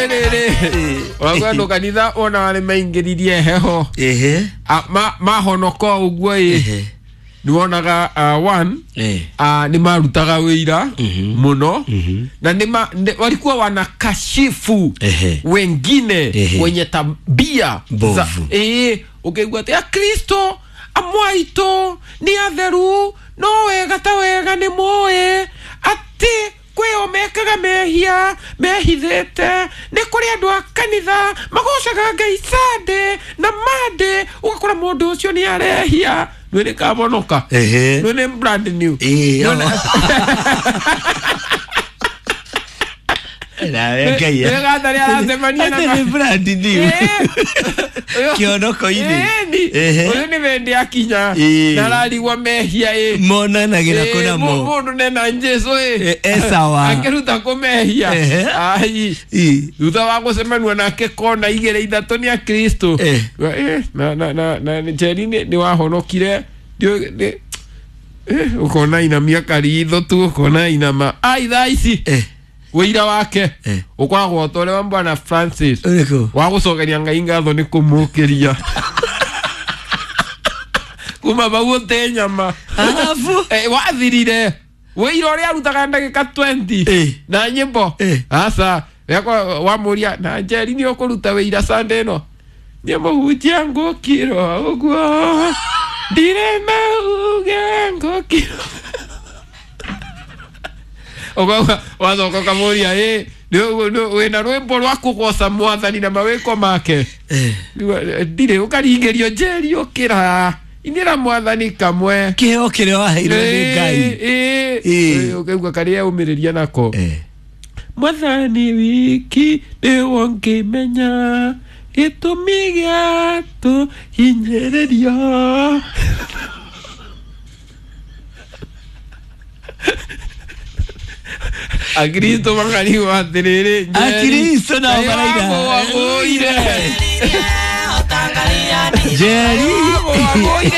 Kũrĩ rĩrĩ ũraigua andũ kanitha ona arĩ maingĩririe heho. Ehe. Mahonoka ũguo ĩ, Ehe. nĩ wonaga one, Eh. nĩ marutaga wĩira mũno na walikuwa wanakashifu Ehe. wengine Ehe. wenye tabia Mbovu. Ĩĩ, ũkĩigua atĩ akristo amwe aitũ nĩ atheru no wega ta wega nĩ moĩ atĩ kwĩo mekaga mehia mehithĩte. Nĩ kũrĩ andũ a kanitha magocaga Ngai Sunday na Monday, ũgakora mũndũ ũcio nĩ arehia nĩ nĩ kabonoka. Ehe. Nĩ nĩ brand new. Ĩĩ, Nĩ- Nawe Ngai. Nĩ gatharĩ aracemania na Atĩ nĩ brand new. Kĩonoko-inĩ. Ĩni. Ehe. Ũyũ nĩ wende akinya Ĩĩ. na ararigwo mehia ĩ. Monanagĩra Ĩĩ, kũna mo. Mũndũ nena Jesu ĩ. E sawa. Akĩruta kũmehia. Ehe. Ai. Ĩ. Thutha wa gũcemania nake kona igĩrĩ ithatũ nĩ akristo. Eh. Na Njeri nĩ wahonokire. Ũkona inamia karitho tu, ũkona inama ai thaa ici. Eh. Wĩira wake Eh. ũkoragwo ta ũrĩa wa bwana Francis Ũrĩkũ? wa gũcokeria Ngai ngatho nĩ kũmũkĩria kuma bau ũte nyama. Arabu. Wathirire wĩira ũrĩa arutaga ndagĩka 20 Eh. na nyĩmbo. Eh. Aca rĩakwa wamũria na Njeri nĩ ũkũruta wĩira Sunday ĩno nĩ mũhunjia ngũkirwo ũguo ndirĩ na uge ngũkirwo. Ũkauga wacoka ũkamũria ĩ wĩna rwĩmbo rwa kũgoca mwathani na mawĩko make. Eh. Ndirĩ ũkaringĩrio Njeri ũkĩra inĩra mwathani kamwe. Kĩheo kĩrĩa waheirwo nĩ Ngai. Ĩĩ. Ũkaigua karĩa aumĩrĩria nako. Eh. Mwathani wiki nĩwo ngĩmenya gĩtũmi gĩa tũhinyĩrĩrio. Akristo makarigwo atĩrĩrĩ Njeri, Akristo nao Ngai maraina. wagũire. Njeri. Wagũire.